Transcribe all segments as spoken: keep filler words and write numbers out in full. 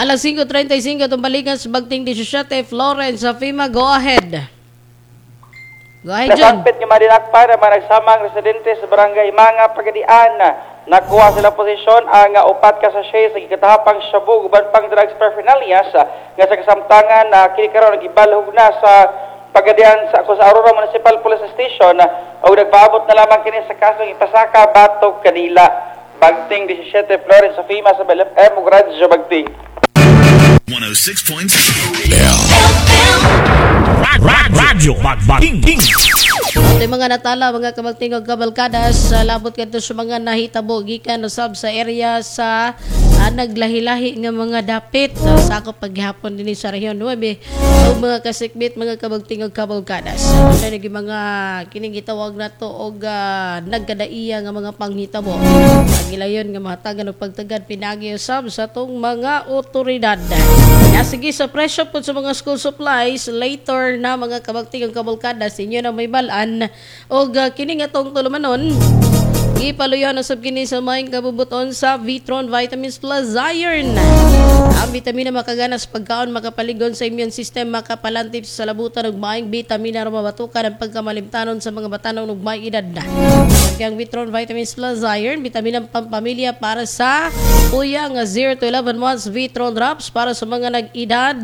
Alas singko trentay singko itong balikan sa Bagting labing siyam, Florence sa FEMA, go ahead. Go ahead, John. Nasangpit nga madinakpan ang mga nagsamang residente sa barangay Mga Pagadian. Nakuha sila posisyon ang uh, upat ka sachet sa gikatahapang shabu uban pang drugs paraphernalia nga sa kasamtangan na uh, kini karon gibalhog na sa Pagadian sa sa Aurora Municipal Police Station uh, ug nagpaabot na lamang kini sa kasong ipasaka batok kanila. Bagting labing siyam, Florence sa FEMA sa B L F M ug Radyo Bagting. one oh six point Radyo Bagting. At yung mga natala, mga kabagting og kabalkadas, sa labot kadto sa mga nahitabo gikan usab sa area sa uh, naglahi-lahi nga mga dapit uh, sakop paghapon dinhi sa Rehiyon nuwebe ug mga kasikbit, mga kabagting og kabalkadas. Sa nagi mga kining gitawag nato og uh, nagkadaiya nga mga panghitabo. Ang gilayon nga mahatagan og pagtagad pinagi usab sa atong mga otoridad. Ya, sige, sa presyo po sa mga school supplies later na, mga kabagting og kabalkadas, inyo na may balan og uh, kini nga atong tulumanon, gipaluyan usab kini sa maayong kabubuton sa Vitron Vitamins Plus Iron. Ang bitamina makagana sa pagkaon, makapaligon sa immune system, makapalantip sa salabutan ug maayong bitamina aron mabatukan ang pagkamalimtanon sa mga batanon ug may edad na. Ang Vitron Vitamins Plus Iron, bitamina pampamilya para sa uya nga zero to eleven months, Vitron Drops para sa mga nag-edad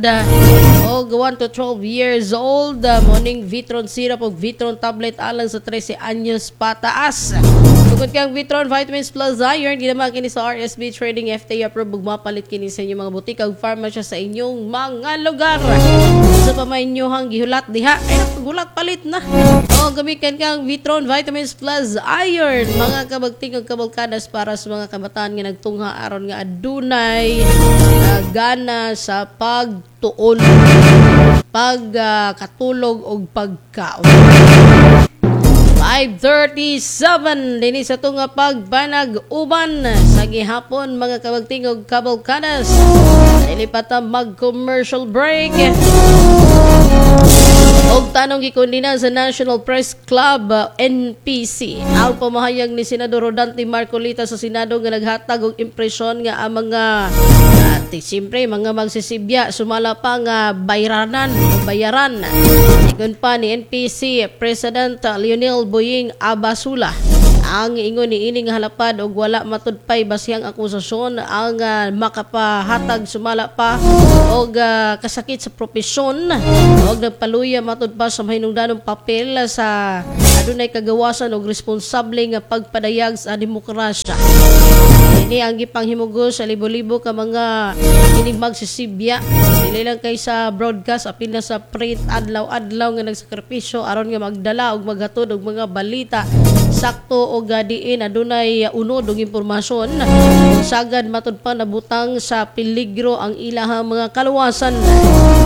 og one to twelve years old, morning Vitron Syrup ug Vitron Tablet alang sa trese anyos pataas. Tungkol kang Vitron Vitamins Plus Iron, ginawa kini sa R S B Trading, F D A approved ug mapalit kini sa inyong mga butik ug pharmacy sa inyong mga lugar. Sa pa may inyong gihulat diha, ay nagulat palit na. O gamitan kang Vitron Vitamins Plus Iron, mga kabagting ug kabalkadas, para sa mga kabataan nga nagtungha aron nga adunay uh, gana sa pagtuon, pag uh, katulog ug pagkaon. five thirty-seven dinhi sa tunga pagpanag-uban sa gihapon, mga kabagting ug kabalkadas. Dili pa ta mag-commercial break. Og tanong, gikondena sa National Press Club uh, N P C ang pamahayag ni Senador Rodante Marcoleta sa Senado nga naghatag og impresyon nga ang mga at siyempre mga magsisibya sumala pa nga bayranan o bayaran. Ingon pa ni N P C President Lionel Boying Abasula, ang ingon ni ini nga halapad og wala matudpay basihang akusasyon ang uh, makapahatag sumala pa og uh, kasakit sa propesyon og nagpaluya matud pa sa mahinungdanong papel sa adunay kagawasan og responsable nga pagpadayag sa demokrasya. Ini ang gipanghimugos sa libo-libo ka mga kining magsisibya, dili lang kay sa broadcast, apil na sa print, adlaw-adlaw nga nagsakripisyo aron nga magdala og maghatod og mga balita sakto og uh, diin adunay unod og impormasyon. Ug sagad matud pa nabutang sa peligro ang ilahang mga kaluwasan.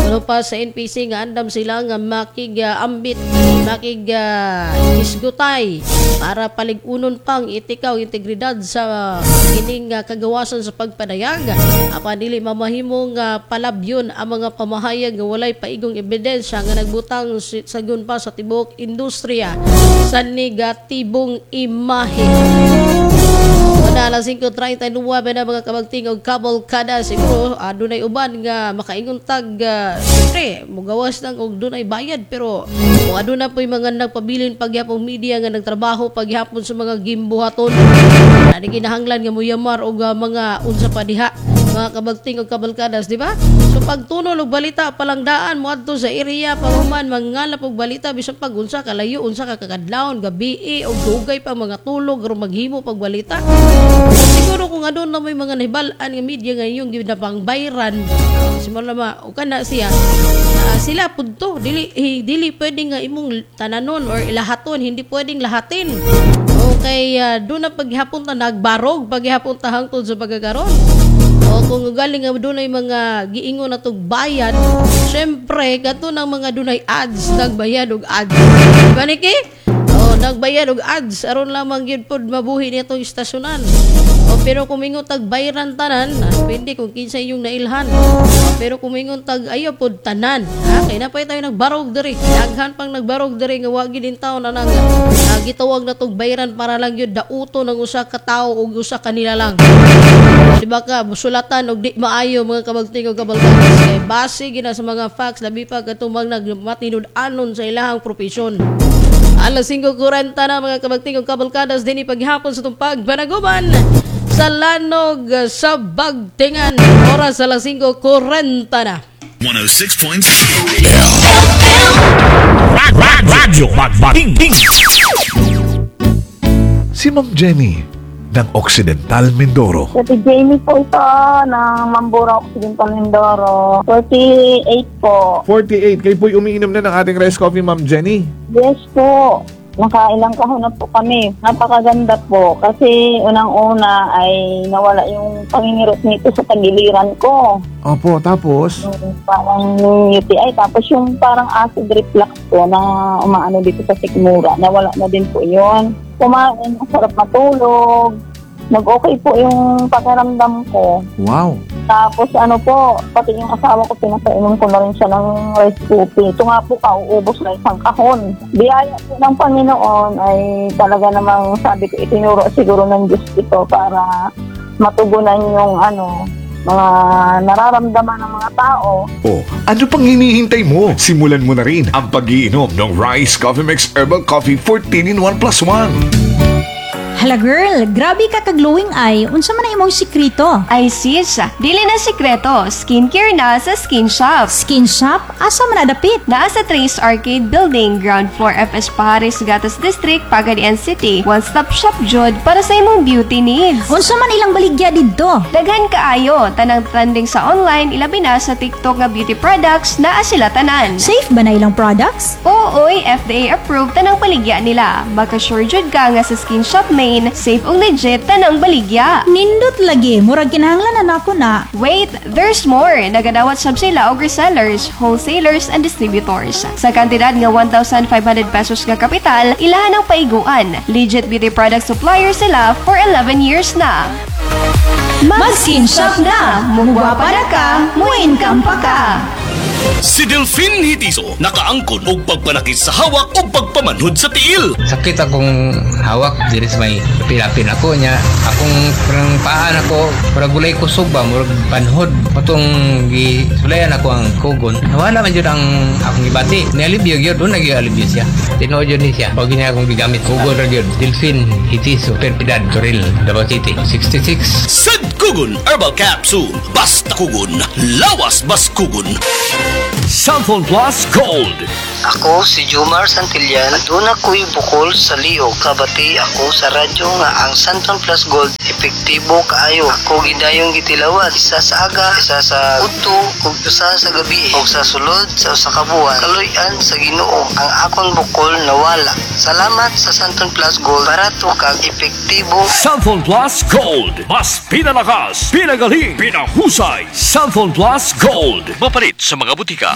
Ano pa sa N P C nga andam sila nga makig-ambit, makig uh, isgutay para palig-unon pang etika ug integridad sa kining uh, kagawasan sa pagpadayag, apan dili mamahimong uh, palabyon ang mga pamahayag nga walay paigong ebidensya nga nagbutang sagun pa sa tibuok industriya sa negatibong imahe. Una, alas singko trentay nuwebe na, mga kabagting og kabalkada. Siguro adunay uban nga makaingon tag uh, siyempre mugawas lang og dunay bayad, pero kung aduna po'y mga nagpabilin pagyapong media nga nagtrabaho pagyapon sa mga gimbuhaton ani, kinahanglan nga muyamar og uh, mga unsa pa diha, mga kabagting og kabalkadas, di ba? So pagtunol og balita palangdaan moadto sa area, pahuman mangalap og balita bisan pag unsa kalayo, unsa ka kakadlawon, gabi og dugay pa mga tulog aron maghimo pag balita. Siguro kung aduna may mga nahibal-an nga media nga inyong ginapangbayran, simula ma o kana siya, ah, sila pud to dili eh, dili pwede nga imong tananon or ilahaton, hindi pwedeng lahatin. Okay, uh, doon na paghapon ta nagbarog paghapon ta hangtod sa pagkakaron. O kung galing nga dunay mga giingon na tog bayad, syempre kato ng mga dunay ads, nagbayad og ads. Di ba, Niki? O nagbayad og ads aron lamang gyud pod mabuhi nitong istasyonan. O pero kung mingon tag bayran tanan, ah, depende kung kinsa inyong nailhan. O, pero kung mingon tag ayaw pod tanan, ha, kay na pa tayo nagbarog diri. Daghan pang nagbarog diri nga wa gyud taon na nang uh, gitawag na tog bayran para lang gyud dauto ng usa ka tawo ug usa kanila lang. Di ba ka sulatan og di maayo, mga kabagting og kabalkadas, kay base gina sa mga facts, labi pa katong mga nagmatinud-anon sa ilahang propesyon. Alas singko kwarenta na, mga kabagting og kabalkadas, dinhi paghapon sa tumpag banaguban sa Lanog sa Bagtingan. Oras alas singko kwarenta na. one oh six point seven. Radyo Bagbating. Si Ma'am Jenny ng Occidental Mindoro. Si Jamie po ito ng Mamburao, Occidental Mindoro. forty-eight po. forty-eight. Kayo po'y umiinom na ng ating rice coffee, Ma'am Jenny. Yes po. Nakailang kahon na po kami. Napakaganda po. Kasi unang-una ay nawala yung pangingirot nito sa tagiliran ko. Opo, tapos? Yung parang U T I. Tapos yung parang acid reflux ko na umaano dito sa sikmura. Nawala na din po yun. Kumain, masarap matulog. Nag-okay po yung pakiramdam ko. Wow. Tapos ano po, pati yung asawa ko, pinapainom ko na rin siya ng rice coffee. Ito nga po, kauubos na isang kahon. Biyaya po ng Panginoon ay talaga namang sabi ko, itinuro siguro ng Diyos ito para matugunan yung ano, mga nararamdaman ng mga tao. O, ano pang hinihintay mo? Simulan mo na rin ang pagiinom ng Rice Coffee Mix Herbal Coffee fourteen in one plus one. Hala girl, grabe ka ka-glowing ay. Unsa man ang imong sikreto? Ay sis, dili na sikreto, skincare na sa Skin Shop. Skin Shop? Asa man adapit? Naa sa Trace Arcade Building, Ground Floor, F S Pajares, Gatas District, Pagadian City. One-stop shop jud para sa imong beauty needs. Unsa man ilang baligya didto? Daghan kaayo, tanang trending sa online, ilabi na sa TikTok nga beauty products, naa sila tanan. Safe ba na ilang products? Oo, oy, F D A approved tanang baligya nila. Maka-sure jud ka nga sa Skin Shop main, safe ug legit tanang baligya. Nindot lagi, murag kinahanglan na nako na. Wait, there's more! Nagadawat sab sila og resellers, wholesalers, and distributors. Sa kantidad nga one thousand five hundred pesos nga kapital, ilahan ang paiguan. Legit beauty product supplier sila for eleven years na. Mag-Skin Shop na! Mugwapa na ka, mo-income pa ka! Si Delphine Hitiso, nakaangkon og pagpanakit sa hawak o pagpamanhod sa tiil. Sakit akong hawak diri sa may pilapin ako niya. Akong parang paa nako, murag gulay kusog ba, murag panhod. Patong gisulayan ako ang kugon. Nawala man jud ang akong gibati. Nialibyo gyud, doon nagyalibyo siya. Tinuod jud ni siya. Pag niya akong gigamit, kugon ra gyud. Delphine Hitiso, Perpidad, Toril, Davao City. sixty-six. Sad Kugon Herbal Capsule. Basta kugon, lawas bas kugon. Xanthone Plus Gold. Ako si Jumar Santillan. Aduna ko'y bukol sa liog. Kabati ako sa radyo nga ang Xanthone Plus Gold epektibo kaayo. Ako gidayong gitilawan. Isa sa aga, isa sa udto, ug usa sa gabi. Ug sa sulod sa usa ka buwan, kaluy-an sa Ginoo ang akong bukol nawala. Salamat sa Xanthone Plus Gold. Barato kag epektibo. Xanthone Plus Gold. Mas pinalakas, pinagaling, pinahusay. Xanthone Plus Gold. Mapalit sa mga butika.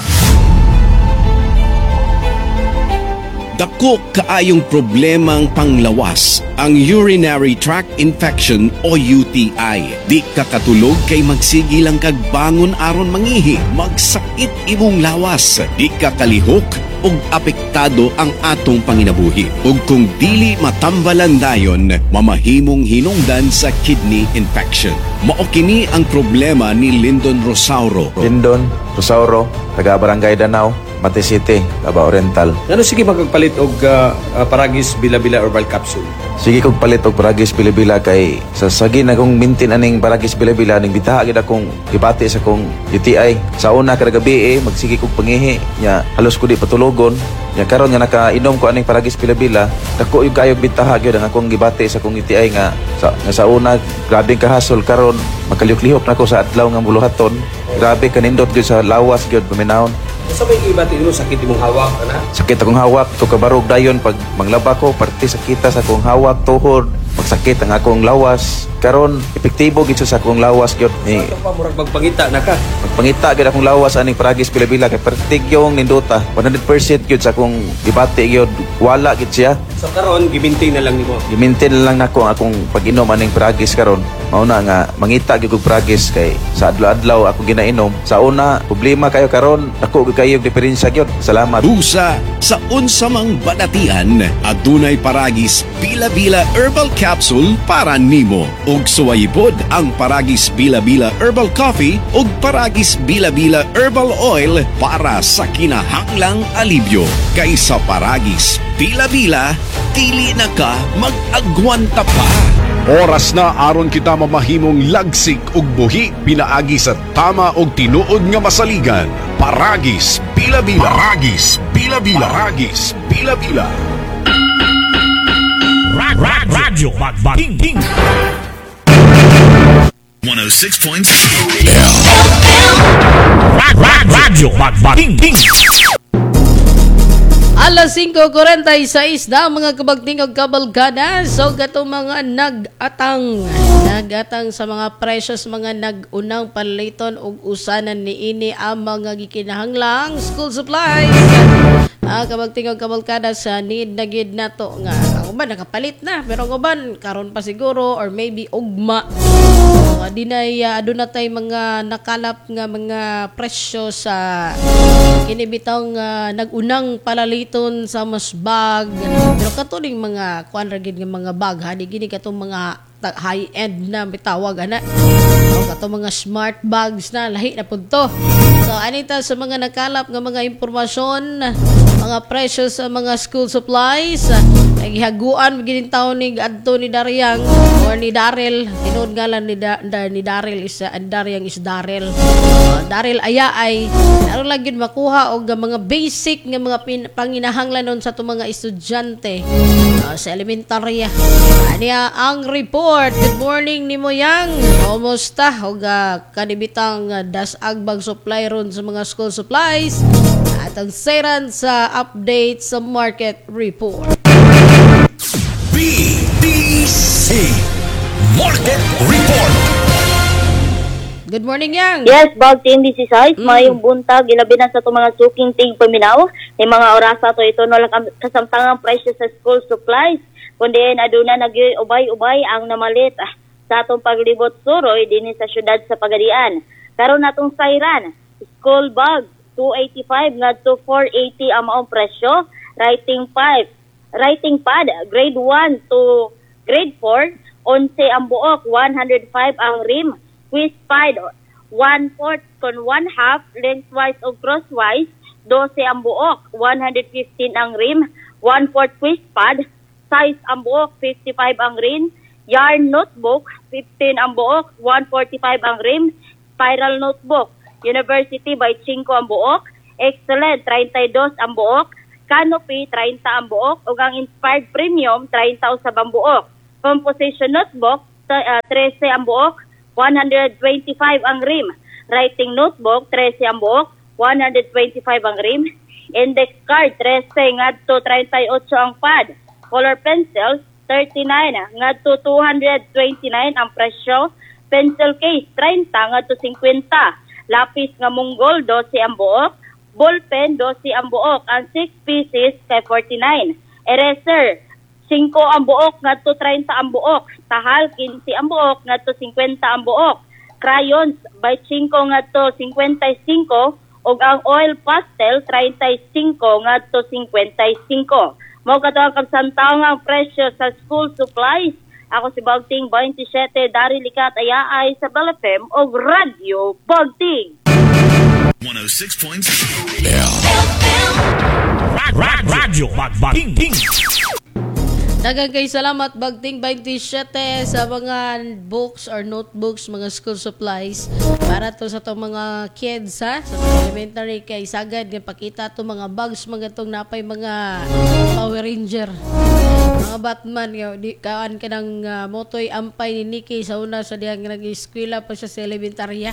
Dako kaayong problemang panglawas ang urinary tract infection o U T I. Di ka katulog kay magsigi lang kag bangon aron mangihi, magsakit imong lawas. Di ka kalihok ug apektado ang atong panginabuhi. Ug kung dili matambalan dayon, mamahimong hinungdan sa kidney infection. Mao kini ang problema ni Lyndon Rosauro. Lindon Rosauro, taga Barangay Danau, Mati City, Davao Oriental. Ngano sige magpalit og uh, uh, Paragis Bila-Bila Herbal Capsule? Sige kog palit og Paragis Bilabila kay sa sagi na kong maintain aning Paragis Bilabila ning bitaha gid akong gibati sa kong U T I. Sa una kada gabi eh, magsige kog pangihi nya halos ko di patulogon. Nya karon nga nakainom ko aning Paragis Bilabila, dako yung kayog bitaha gyud ang akong gibati sa akong U T I nga sa, nga sa una grabe kahasol, karon makalihok-lihok na ko sa adlaw nga buluhaton. Grabe kanindot gyud sa lawas gyud paminawon. Sa may gibati nimo, sakit imong hawak ana? Sakit akong hawak, to kabarog dayon pag manglaba ko, parte sakita sa akong hawak, tuhod, magsakit ang akong lawas. Karon epektibo gid siya sa akong lawas gyud. Ni Ito pa murag magpangita na ka. Magpangita gyud akong lawas aning Paragis Bilabila kay pertig yung nindota. one hundred percent gyud sa akong gibati gyud, wala gyud siya. So karon gi-maintain na lang nimo. Gi-maintain na lang nako ang akong pag-inom aning Paragis karon. Mao na nga mangita gyud kog Paragis kay sa adlaw-adlaw ako ginainom. Sa una problema kayo, karon dako gyud kayo diferensya gyud. Salamat. Busa sa unsa mang balatian, adunay Paragis Bila-Bila Herbal Capsule para nimo. Ug Ug suwayi pod ang Paragis Bila Bila Herbal Coffee ug Paragis Bila Bila Herbal Oil para sa kinahanglang alibyo. Kaysa Paragis Bila Bila, dili na ka mag-agwanta pa. Oras na aron kita mamahimong lagsik ug buhi pinaagi sa tama ug tinuod nga masaligan. Paragis Bila Bila. Paragis Bila Bila. Paragis Bila Bila. Radyo Magbagting. one oh six point seven Radyo Magbagting. Alas singko kwarenta y sais na, mga kabagting og kabalkada. So katong mga nag-atang nag-atang sa mga precious mga nag-unang paliton og usanan niini ang mga gikinahanglang school supplies. Ah, kabagting og kabalkada, sa need na gid nato nga ang uban nakapalit na, pero ang uban karon pa siguro or maybe ugma. So, dinay uh, aduna tay mga nakalap nga mga presyo sa kini bitang uh, nag-unang palaliton sa mas bag, pero katuning mga kuan ra gid nga mga bag ha, di gini katong mga high end na bitawag ana o katong mga smart bags na, lahi na pud to. So anita sa mga nakalap nga mga impormasyon, mga presyo sa mga school supplies, nagihaguan gid taon ni adto ni Daryang or ni Darel. Tinuod ngalan ni, da, da, ni Darel is uh, Daryang is Darel. uh, Darel aya ay aron lang gyud makuha og mga basic nga mga pin, panginahanglanon sa atong mga estudyante uh, sa elementarya. Aniya ang report. Good morning nimo, Yang. Kumusta og uh, kanibitang uh, dasag bag supply ron sa mga school supplies at ang seran sa update sa market report. B D C Market Report. Good morning, Yang. Yes, Bagting sixteen, mm. mayong buntag, ilabi na sa itong mga suking ting paminaw, ni mga orasa to ito no lang kasamtangang presyo sa school supplies, kundi aduna nagyoy ubay-ubay ang namalit ah, sa atong paglibot suroy dinhi sa syudad sa Pagadian. Karon natong sayran, school bag two eighty-five ngadto four eighty ang maong presyo, writing five, writing pad grade one to grade four, eleven ang buok, one hundred five ang rim, quiz pad one fourth kon one half lengthwise o crosswise, twelve ang buok, one hundred fifteen ang rim, one fourth quiz pad, size ang buok, fifty-five ang rim, yarn notebook, fifteen ang buok, one forty-five ang rim, spiral notebook, University by five ang buok, Excellent, thirty-two ang buok, Canopy, thirty ang buok, ug ang Inspired Premium, thirty usab ang buok. Composition notebook, uh, thirteen ang buok, one hundred twenty-five ang rim. Writing notebook, thirteen ang buok, one hundred twenty-five ang rim. Index card, thirteen ngadto thirty-eight ang pad. Color pencils, thirty-nine ngadto two hundred twenty-nine ang presyo. Pencil case, thirty ngadto fifty. Lapis nga Mongol, twelve ang buok. Ballpen, twelve ang buok. Ang six pieces kay forty-nine. Eraser, five ang buok ngadto thirty ang buok. Tahal, fifteen ang buok ngadto fifty ang buok. Crayons, by five ngadto fifty-five ug ang oil pastel thirty-five ngadto fifty-five. Mao kato ang kasamtangang presyo sa school supplies. Ako si Bagting twenty-seven Dari Likat Ayaay sa Bell F M og Radyo Bagting. one oh six point seven Radyo Magbagting. Daghang kay salamat, Bagting twenty-seven, sa mga books or notebooks, mga school supplies para to sa tong mga kids ha, sa mga elementary, kay sagad nga pakita to mga bags, mga tong napay mga Power Ranger, mga Batman nga di kaan ka ng uh, motoy ampay ni Nikki sa una sa diyang nag-eskwela pa siya sa elementarya.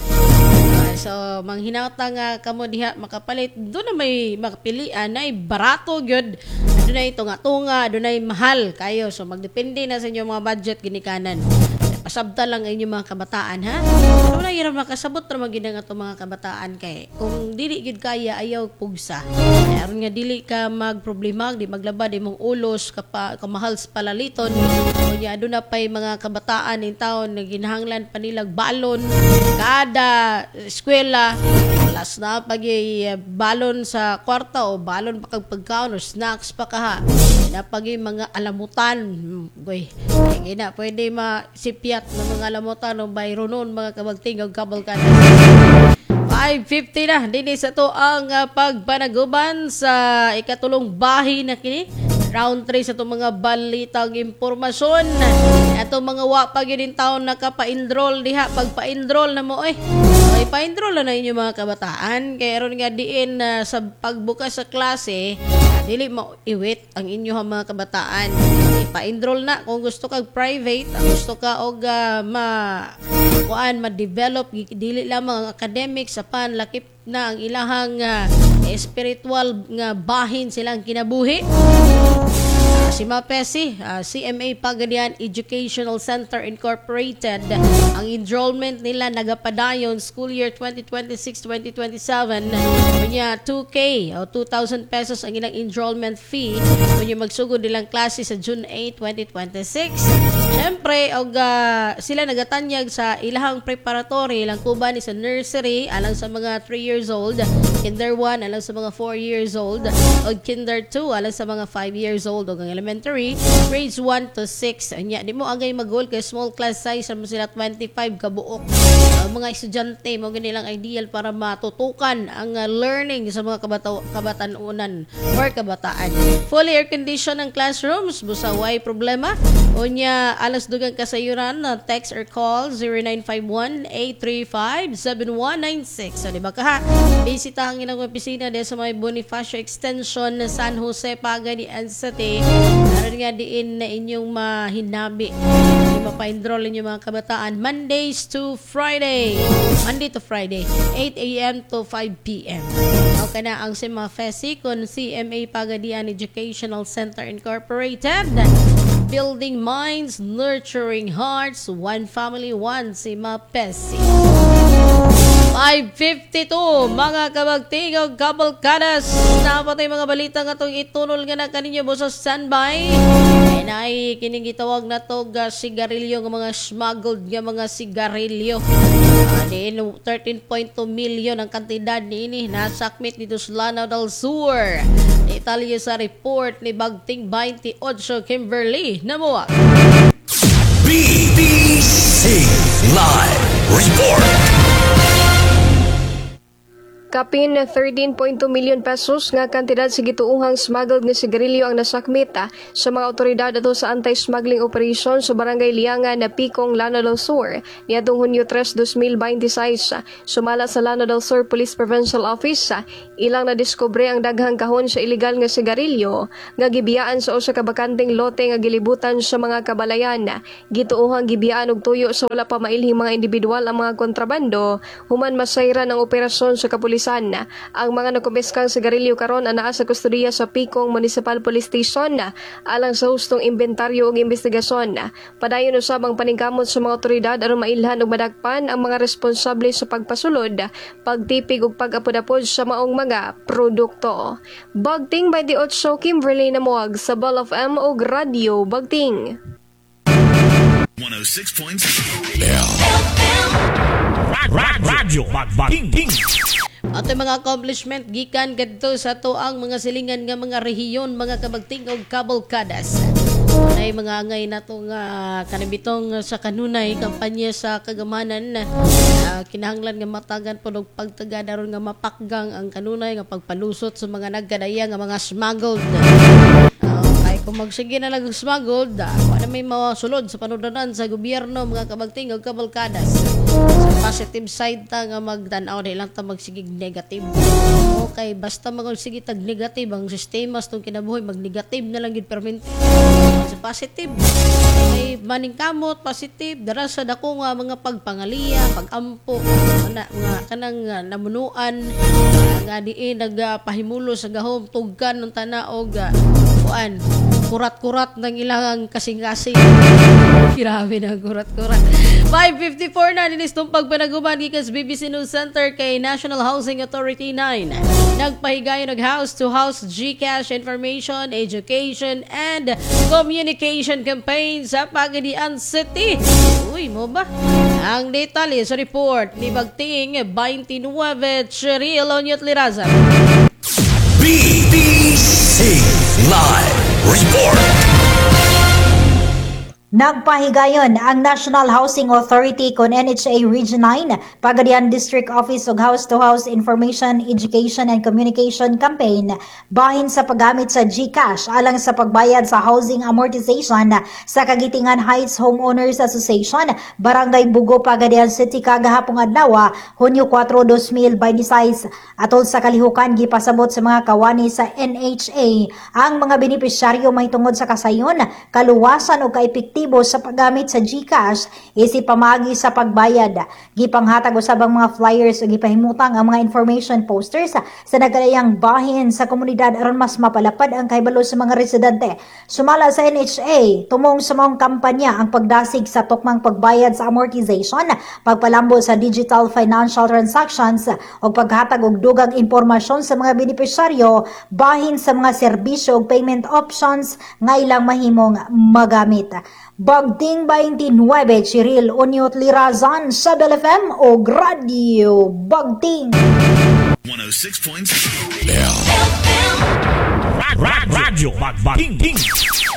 Ah, so manghinata nga kamo diha makapalit, do na may makapilian na barato gyud, adunay tunga-tunga, adunay mahal kayo. So magdepende na sa inyong mga budget ginikanan. Pasabta lang ang inyong mga kabataan ha. Pero wala yun makasabot ra magid ang atong mga kabataan, kay kung dili gyud kaya, ayaw pugsa. Kaya aron nga dili ka magproblema, di maglaba di mong ulos kapa, kamahal sa palaliton. Unya aduna pay mga kabataan in taon na ginahanglan pa nilag balon kada eskwela. Plus na pag balon sa kwarta o balon pa kag pagkaon o snacks pa kaha. Na pag mga alamutan. Goy. Sige na, pwede masipyat ng mga alamutan o bayronon mga kabagting o kabalkan. five fifty na dinhi sa to ang uh, pagpanaguban sa ikatulong bahin na kini. Round three sa itong mga balitang impormasyon. Ato mga wa pa gyud taon nakapa-enroll diha, pagpa-enroll na mo eh. Okay, pa-enroll na na inyo mga kabataan kay aron nga diin uh, sa pagbukas sa klase dili mo iwit ang inyong mga kabataan. Pa-enroll na kung gusto kag private, gusto ka og uh, ma kuan, ma-develop dili lamang ang academics apan lakip na ang ilahang uh, spiritual nga bahin silang kinabuhi. Si Mapesi, uh, C M A Pagadian Educational Center Incorporated. Ang enrollment nila nagapadayon school year twenty twenty-six twenty twenty-seven. Kunya two K o two thousand pesos ang ilang enrollment fee. Kunya magsugod nilang klase sa June eight, twenty twenty-six. Siyempre, og uh, sila nagatanyag sa ilahang preparatory, ilang kuban ni sa nursery alang sa mga three years old, kinder one alang sa mga four years old, og kinder two alang sa mga five years old, og ang elementary grades one to six. Anya di mo angay magol kay small class size mo sila, twenty-five kabuok. Uh, mga estudyante mo nilang ideal para matutukan ang uh, learning sa mga kabata kabatanunan or kabataan. Fully air condition ang classrooms, busa way problema. Unya alas dugang kasayuran na text or call zero nine five one, eight three five, seven one nine six. So di ba kaha? Bisita ang ilang opisina diya sa may Bonifacio Extension, San Jose, Pagadian City. Aron nga diin na inyong mahinabi. Mapa-enroll inyong mga kabataan Mondays to Friday. Monday to Friday, eight a m to five p m. Okay na ang C M A F E S I kon C M A Pagadian Educational Center Incorporated. Building minds, nurturing hearts, one family, one C M A P E S I. five fifty-two mga kabagtingog kabalkadas, napatay mga balita nga itong itunol nga na kaninyo mo sa standby ay naay kining gitawag na to ga sigarilyo nga mga smuggled nga mga sigarilyo uh, diin thirteen point two million ang kantidad niini nasakmit dito sa Lanao del Sur. Detalye sa report ni Bagting twenty-eight Kimberly Namuak. B B C Live Report. Kapin thirteen point two million pesos nga kantidad sa gituohang smuggled nga sigarilyo ang nasakmit ah, sa mga otoridad ato sa anti-smuggling operation sa Barangay Liangan na Pikong, Lanao del Sur niadtong Hunyo tres, two thousand twenty-six. Sumala sa Lanao del Sur Police Provincial Office, ah, ilang nadiskubre ang daghang kahon sa ilegal nga sigarilyo nga gibiyaan sa usa ka bakanteng lote nga gilibutan sa mga kabalayan. Gituohang gibiyaan og tuyo sa wala pa mailhing mga individual ang mga kontrabando human masayran ang operasyon sa kapulisan. Ang mga nakumpiskang sigarilyo karon anaa sa kustodiya sa Pikong Municipal Police Station alang sa hustong inventaryo ug investigasyon. Padayon usab ang paningkamot sa mga otoridad aron mailhan ug madakpan ang mga responsable sa pagpasulod, pagtipig ug pag-apod-apod sa maong mga produkto. Bagting twenty-eight, Kimberly Namuag sa Ball of M ug Radio Bagting. one oh six point seven. Radyo Bagting. Ato mga accomplishment gikan kadto sa ato ang mga silingan nga mga rehiyon, mga kabagting og kabalkadas. Nay mga angay nato nga kanibitong sa kanunay kampanya sa kagamanan, uh, kinahanglan nga matagan pod og pagtagad aron nga mapakgang ang kanunay nga pagpalusot sa mga nagkadaya nga mga smuggled. Uh, kay kung magsige na lang smuggled, uh, wala may masulod sa panudanan sa gobyerno, mga kabagting og kabalkadas. Sa positive side ta nga magtan-aw, di lang ta magsigig negative. Okay, basta magsige tag negative ang sistema sa tong kinabuhi, mag-negative na lang gid permente. Sa positive, ay maningkamot, positive, dara sa dako nga mga pagpangaliya, pagampo, ana mga kanang uh, namunuan nga diin nagpahimulo sa gahom, tugkan ng tanaog, uh, kuan, kurat-kurat ng ilang kasing-kasing. Grabe na kurat-kurat. five fifty-four na dinis tumpag panaguman gikan sa B B C News Center kay National Housing Authority nine. Nagpahigayon og house to house GCash information, education and communication campaign sa Pagadian City. Uy, mao ba? Ang detalye sa report ni Bagting twenty-nine Cheryl Onyot Liraza. B B C Live Report. Nagpahigayon ang National Housing Authority kon N H A Region nine, Pagadian District Office og House-to-House Information, Education and Communication Campaign bahin sa paggamit sa GCash alang sa pagbayad sa housing amortization sa Kagitingan Heights Homeowners Association, Barangay Bugo, Pagadian City kagahapong adlaw, Hunyo kuwatro, dalawang libo bente sais. Atol sa kalihukan, gipasabot sa mga kawani sa N H A ang mga benepisyaryo mahitungod sa kasayon, kaluwasan o kaepektibo sa paggamit sa GCash isip pamaagi sa pagbayad. Gipanghatag usab ang mga flyers o gipahimutang ang mga information posters sa nagkalayang bahin sa komunidad aron mas mapalapad ang kahibalo sa mga residente. Sumala sa N H A, tumong sa maong kampanya ang pagdasig sa tukmang pagbayad sa amortization, pagpalambo sa digital financial transactions o paghatag og dugang impormasyon sa mga benepisyaryo bahin sa mga serbisyo ug payment options nga ilang mahimong magamit. Bagting twenty-nine, Cheryl Onyot Lirazan sa Bell F M o Radyo Bagting. one oh six point Radyo Bagting.